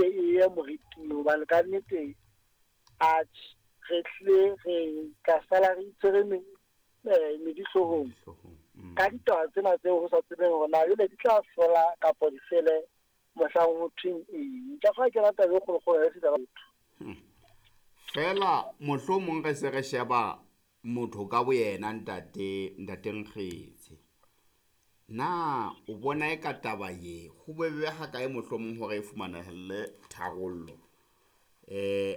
ke e ye moriting, hobane ka nnete atjhe, re hlile re tla sala re itshwere medi hloohong ka ditaba tsena tseo ho sa tsebeng hore na jwale di tla fela kapa di fele mohlang ho thweng eng. Ka fa ke rata taba e kgolokgolo ya setjhaba batho. Feela mohlomong re se re sheba motho ka boyena, ntate ntate Nkgetse. Na o bona e ka taba ye ho bobebe ha kae mohlomong hore e fumanahelle tharollo?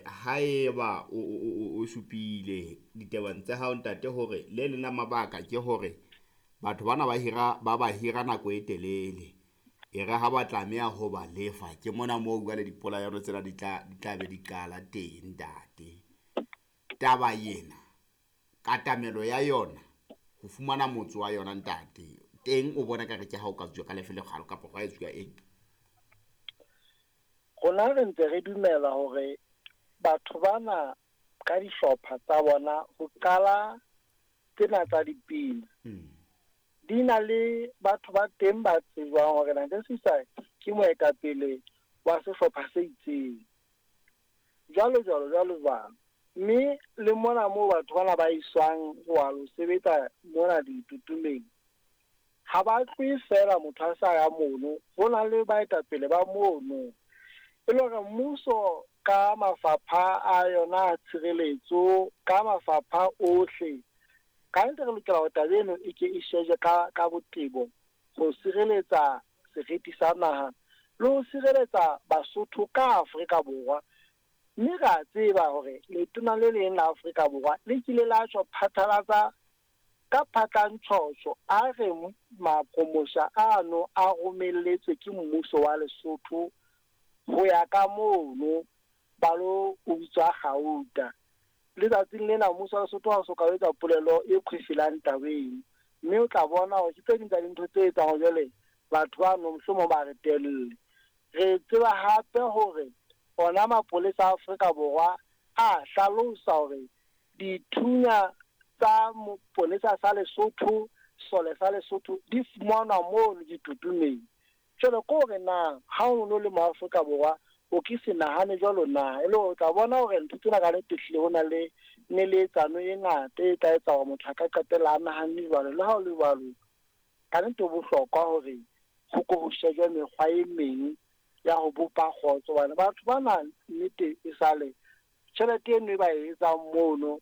Haeba o supile ditabeng tsa hao, ntate, hore le leng la mabaka ke hore batho bana ba hira ba ba hira nako e telele, e re ha ba tlameha ho ba lefa, ke mona moo jwale dipolayano tsena di tla be di qala teng, ntate. Taba ena katamelo ya yona ho fumana motso wa yona, ntate, teng o bona ka re ke ha o ka tswa ka lefe lekgalo kapa gwa etsuwa eng? Rona re ntse re dumela hore batho bana ka dihlopha tsa bona ho qala tsena tsa dipina di na le batho ba teng ba tsejwang hore Ntate Sisa ke moetapele wa sehlopha se itseng, jwalo jwalo jwalo jwalo. Mme le mona moo batho bana ba iswang ho wa lo sebetsa mona ditutumeng, ha ba tlohe feela motho a sa ya mono, ho na le baetapele ba mono. E le hore mmuso ka mafapha a yona a tshireletso, ka mafapha ohle, ka nnete re lokela hore taba eno e ke e shejwe ka botebo ho sireletsa seriti sa naha le ho sireletsa Basotho ka Afrika Borwa. Mme re a tseba hore letona le leng la Afrika Borwa le kile la tjho phatlalatsa ka phatlantshotjho, a re maqomosha ano a romelletswe ke mmuso wa Lesotho ho ya ka mono ba lo utswa kgauta. Letsatsing lena mmuso wa Lesotho ha o so ka o etsa polelo e kgwefelang tabeng, mme o tla bona hore ke tse ding tsa dintho tse etsang hore jwale batho bano mohlomong ba re telle. Re tseba hape hore ona mapolesa a Afrika Borwa a hlalosa hore dithunya tsa moponesa sa Lesotho, sole sa Lesotho, di fumanwa mono ditutumeng. Jwale ke hore na ha o no le mo Afrika Borwa o ke se nahane jwalo na, e le hore o tla bona hore ntho tsena ka nnete hlile ho na le neletsano e ngata e tla etsa hore motho a ka qetella a nahanne jwalo. Le ha o le jwalo, ka nnete ho bohlokwa hore ho ko ho shejwe mekgwa e meng ya ho bopa kgotso, hobane batho bana nnete e sale tjhelete eno e ba e etsang mono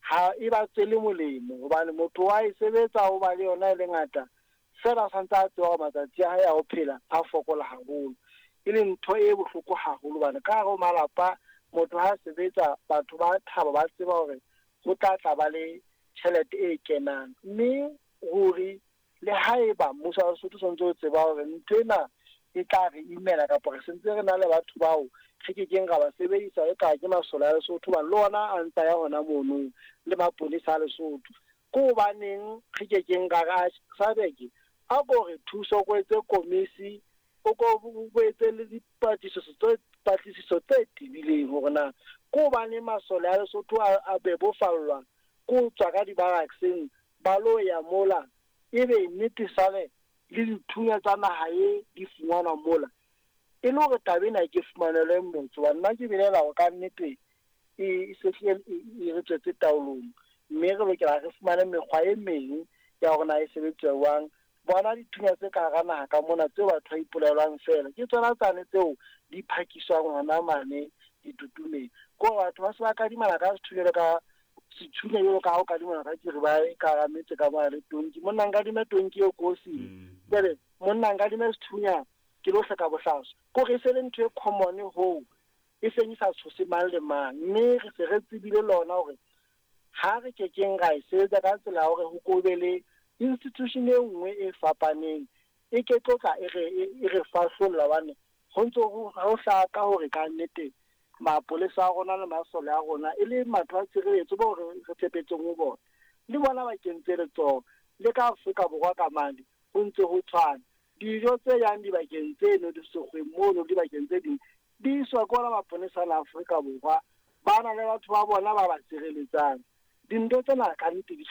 ha e ba tswele molemo, hobane motho wa e sebetsa o ba le yona e le ngata feela, a santse a tseba hore matsatsi a hae a ho phela a fokola haholo, e leng ntho e bohloko haholo, hobane ka hare ho malapa motho ha sebetsa batho ba thaba, ba tseba hore ho tla tla ba le tjhelete e kenang. Mme ruri le haeba mmuso wa Lesotho o santse o tseba hore ntho ena e tla re imela, kapa re sentse re na le batho bao re kekeng ra ba sebedisa e ka ke masole a Lesotho, hobane le ona a ntsa ya hona mono le maponesa a Lesotho, ke hobaneng re kekeng ra re SADC a ko re thuso, ko etse komisi, o ko o etse le dipatlisiso tse tebileng hore na ke hobaneng masole a Lesotho a bebofallwa ke ho tswa ka di-barrackseng ba lo ya mola, ebe nnete sale le dithunya tsa naha e di fumanwa mola, e le hore taba ena ke fumanelwe motso. Hobane nna ke belaela hore ka nnete e se hlile e re tswetse taolong, mme re lokela re fumane mekgwa e meng ya hore na e sebetswa jwang. Bona dithunya tse ka hara naha ka mona tseo batho ba ipolaelwang feela, ke tsona tsane tseo di phakiswang hona mane ditutumeng. Ke hore batho ba se ba kadimana ka sethunya, ka sethunya jwalo ka ha o kadimana ka kiribae ka hara metse ka mona le tonki. Monna, nkadime tonki eo kosing, jwale monna, nkadime sethunya ke lo hleka bohlaswa. Ke hore e se le ntho e common hoo e seng e sa tshose mang le mang, mme re se re tsebile lona hore ha re kekeng ra e sebetsa ka tsela ya hore ho ko be le institution e nngwe e fapaneng e ke tlo tla e re fahlolla, hobane ho ntso ho hlaka hore ka nnete mapolesa a rona le masole a rona e le matho a tshireletso bao re tshepetseng ho bona, le bona ba kentse letsoho. Le ka Afrika Borwa ka mane ho ntse ho tshwana, dijo tse yang dibakeng tseno di sekgweng mono, dibakeng tse ding di iswa ke ona maponesa la Afrika Borwa, ba na le batho ba bona ba ba sireletsang. Dintho tsena ka nnete di